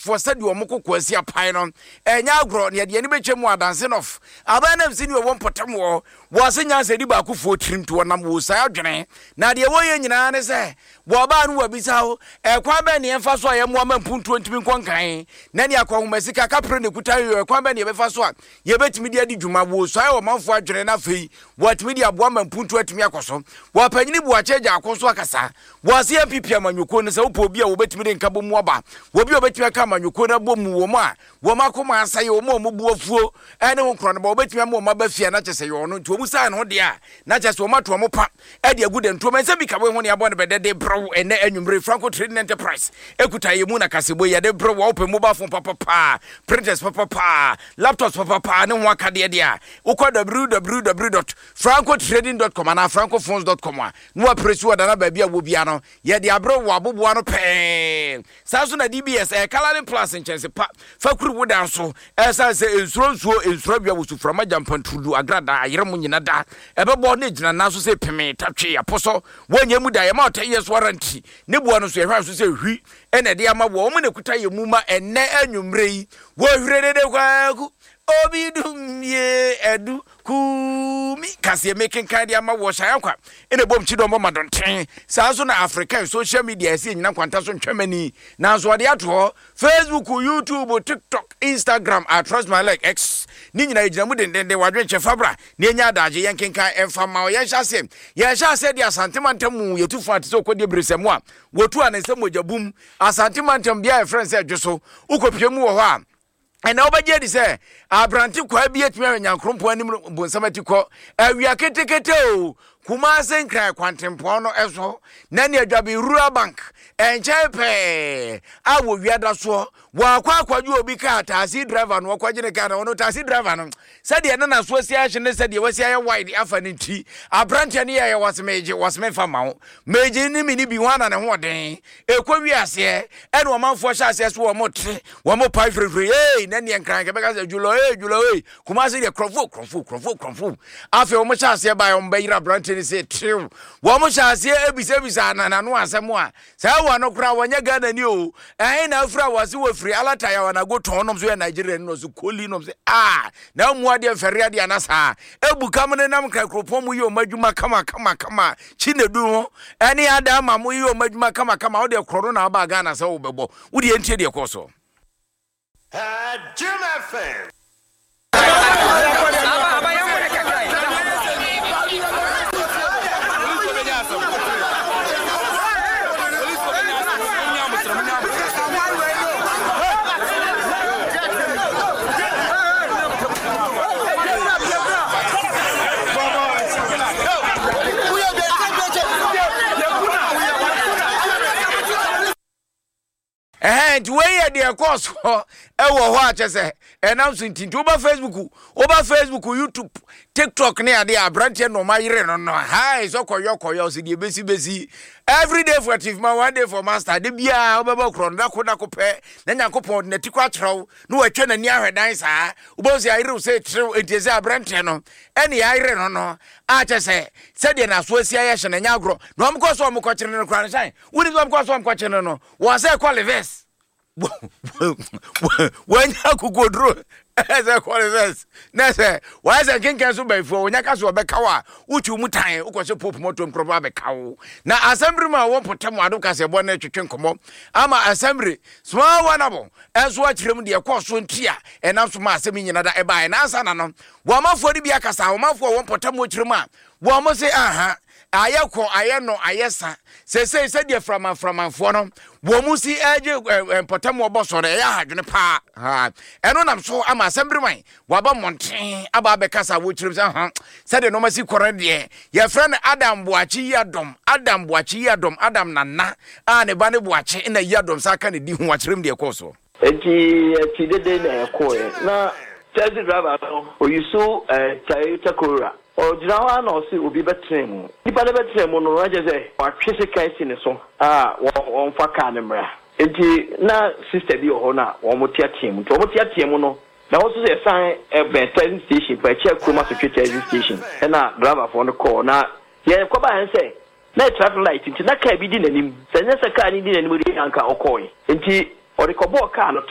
Ghanafoɔ sɛdeɛ wɔn koko asi apae no, ɛnyɛ agorɔ. Na yɛde yɛn ani bɛtwa mu adanse nɔf. Aban nam si ne ɔwɔ mpɔtam wɔ wɔ ase nyansa di baakofoɔ tirim nti wɔnam wɔ saa adwene. Na deɛ wɔyɛ nyinaa ne sɛ wɔbaa no wɔabisa wo, ɛkwan bɛn ne yɛmfa so a yɛmmoa ma mpuntuo ntumi nkɔ nkan? Na ne akɔnhoma sika kaprɛ na ɛkuta yɛ ɛkwan bɛn ne yɛbɛfa so a yɛbɛtumi de adi dwuma? Wɔsuae ɔmanfoɔ adwene na afei wɔatumi de aboa ma mpuntuo atumi akɔ so. Wɔpanyini Boakye Agyarko nso akasa. Wɔase NPP amanyɔkuo no sɛ wopɛ obi a wɔbɛtumi de nkabom mu aba, obi a wɔbɛtumi aka amanyɔkuo no abɔ mu, wɔn a wɔn akoma asɛe, wɔn a wɔn bo afuo ne ho korɔ no ba, wɔbɛtumi ama wɔn aba fie a na kyerɛ sɛ yɛ ɔno. Nti wɔn saa no ho deɛ a na kyerɛ sɛ wɔn ato wɔn pa de agu dantuo mu. Ɛnsɛ bi ka wei ho ne abɔ no bɛdɛ de brɛ wo ɛnɛ anwummere. Franco Trading Enterprise ɛkuta yɛ mu na kasebo yɛde brɛ wo a wopɛ mobile phone papapaa, printers papapaa, laptops papapaa ne ho akadeɛ deɛ a wokɔ www.francotrading.com anaa francophones.com a na wapere so wɔ dana baabi a wɔ biara no yɛde abrɛ wɔ aboboa no pɛɛ. Saa nso na DBS ɛyɛ Coloring Plus nkyɛnse pa fa kuru wo dan so. Ɛsan sɛ nsuro nsuo, nsuro awia, wusu frama, gyampanturudu, agradaa, ayerɛmo nyina da ɛbɛbɔ na egyina nan so sɛ pemee, tatwee, apɔsɔ, wɔnyɛ mu da, yɛma ɔtɛ yɛ so ara nti ne boa no nso yɛhwɛ so sɛ hwi ɛna ɛde ama wɔ wɔn na ɛkuta yɛ mu ma ɛnnɛ anwummerɛ yi wɔhwire dede kwaku obi dum yie ɛdu Kumi kaseɛ mekenkan de ama wɔ Shayankwa ɛna ɛbom kyidɔm bɔ madɔnten. Saa nso na African social media ɛsɛ yɛnyina nkwanta so ntwɛm ani. Nanso ɔde ato hɔ, Facebook, YouTube, TikTok, Instagram, I trust my leg, X, ne nyinaa yɛgyina mu dendenden. Wadwenkyɛ fa bra na yɛnya adagye yɛnkenkan ɛmfa mma wo. Yɛnhyɛ aseɛ yɛhyɛ aseɛ de Asante mantam mu yɛtu fa te sɛ ɔkɔdeɛ beresɛmu a wɔtu a ne nsa mogya bum. Asante mantam bea a yɛfrɛ no sɛ Dwoso. Wokɔpie mu wɔ hɔ a, Ɛnna wobɛgye adi sɛ aberante kwaa bi atumi ahwɛ nyankoropɔn anim bonsam ati kɔ awia ketekete o, Kumase Nkran kwantempɔn no so, na ne Adwabe Rural Bank nkyɛn pɛɛ a wɔwia da soɔ. Wɔakɔ akɔgye obi kaa, taxi driver no wɔkɔgye ne kaa na ɔno taxi driver no sɛdeɛ ne naso asi ahye ne sɛdeɛ wasi ayɛ wide afa ne nti aberanteɛ no yɛyɛ wɔse megye wɔse memfa ma wo megye ne mene bi ho ana ne ho ɔden ɛkɔ wi aseɛ ɛne ɔmanfoɔ hyɛ aseɛ so wɔn te wɔn pae firifiri ee na neɛ nkran kɛbɛka sɛ dwulɔ ee dwulɔ ee Kumase deɛ korɔfo korɔfo korɔfo korɔfo afei wɔn hyɛ aseɛ baeɛ wɔn bɛyere aberanteɛ no sɛ tew wɔn hyɛ aseɛ ebisabisa ananano asɛm a Saa wa no koraa wɔnyɛ Ghana ni o. Ɛhe na afiri a wɔse wɔfiri Alata ya wanago tɔn nom so yɛ Nigeria ni no so koli nom se ah na mu adeɛ mfɛre adeɛ ana saa. Ebu kam ne nam kra kuropɔn mu yɛ ɔmo adwuma kama kama kama kyi na du ho ɛne ada ama mo yɛ ɔmo adwuma kama kama wo deɛ korɔ no na aba Ghana sɛ wo bɛbɔ wo deɛ ntie deɛ kɔɔ so. Jim FM. Ɛhɛn, nti wei yɛ deɛ ɛkɔɔ soɔ ɛwɔ hɔ a kyɛ sɛ ɛnam so nti nti woba Facebook, woba Facebook, YouTube, TikTok ne adeɛ a aberanteɛ na ɔma yere no no hae sɛ kɔyɔ kɔyɔ sɛ deɛ bɛsi bɛsi every day for chief ma one day for master de biara wobɛbɔ korɔ no dako dako pɛ na Nyankopɔn de n'ati kɔ akyerɛ wo na watwa n'ani ahwɛ dan saa wobɛhu sɛ ayere wo sɛ tirew nti sɛ aberanteɛ no ɛne ayere no no a kyɛ sɛ sɛdeɛ n'aso asi ayɛ hyɛ no ɛnyɛ agorɔ na ɔmkɔ so ɔmkɔkyere no koraa no hyɛn wonim sɛ ɔmkɔ so ɔmkɔkyere no no Wɔn sɛ kɔ reverse. Wɔanya akokoduro sɛ kɔ reverse. Na sɛ wɔayɛ sɛ nkenkan so bɛnfoɔ wɔnya ka so wɔbɛka wo a wotwi mu tan wokɔhyɛ pope mɔtoam korɔbɔ abɛka wo. Na asɛmbere mu a wɔn mpɔtam ado kaseɛbɔ no retwetwe nkɔmmɔ ama asɛmbere small wanabo nso akyerɛ mu deɛ ɛkɔɔ so nti a ɛnam so ma asɛm yi nyina da ɛbaeɛ. Na ansa na no wɔn amanfoɔ no bi akasa wɔn amanfoɔ a wɔn mpɔtam kyerɛ mu a wɔn se aha Ayɛ kɔ, ayɛ nɔ, ayɛ sa. Seesei sɛdeɛ framaframafoɔ no wɔn mu si regye mpɔtam wɔbɔ soɔ no, ɛyɛ ahadwene paa. Ha, ɛno nam so ama asɛmbereman wɔaba mmɔnten aba abɛkasa wɔkyerɛm sɛ ha sɛdeɛ nneɛma si kɔ no deɛ yɛfrɛ no Adam Boakye Yiadom, Adam Boakye Yiadom, Adam Nana a ne ba ne Boakye na Yiadom saa ka ne di ho akyerɛm deɛ ɛkɔɔ soɔ. Enti yɛte dede na yɛkɔeɛ. Na taxi driver no ɔyusu Toyota Corolla. Ɔgyina hɔ ara na ɔse obi bɛtena mu. Nipa no bɛtena mu no na kyerɛ sɛ watwe sekan asi ne so a wɔmfa car no mmra. Enti na sister bi wɔ hɔ na wɔteatea mu. Nti wɔteatea mu no na hɔ nso sɛ yɛsan bɛn taxi station paa, akyiri kurom asotwe taxi station ɛna driverfoɔ no kɔɔ. Na deɛ ɛkɔbaeɛ ne sɛ na yɛ traffic light nti na car bi di n'anim. Sɛ ɛnyɛ sɛ car no di n'anim deɛ anka ɔkɔɔe. Nti ɔde kɔbɔɔ car no to.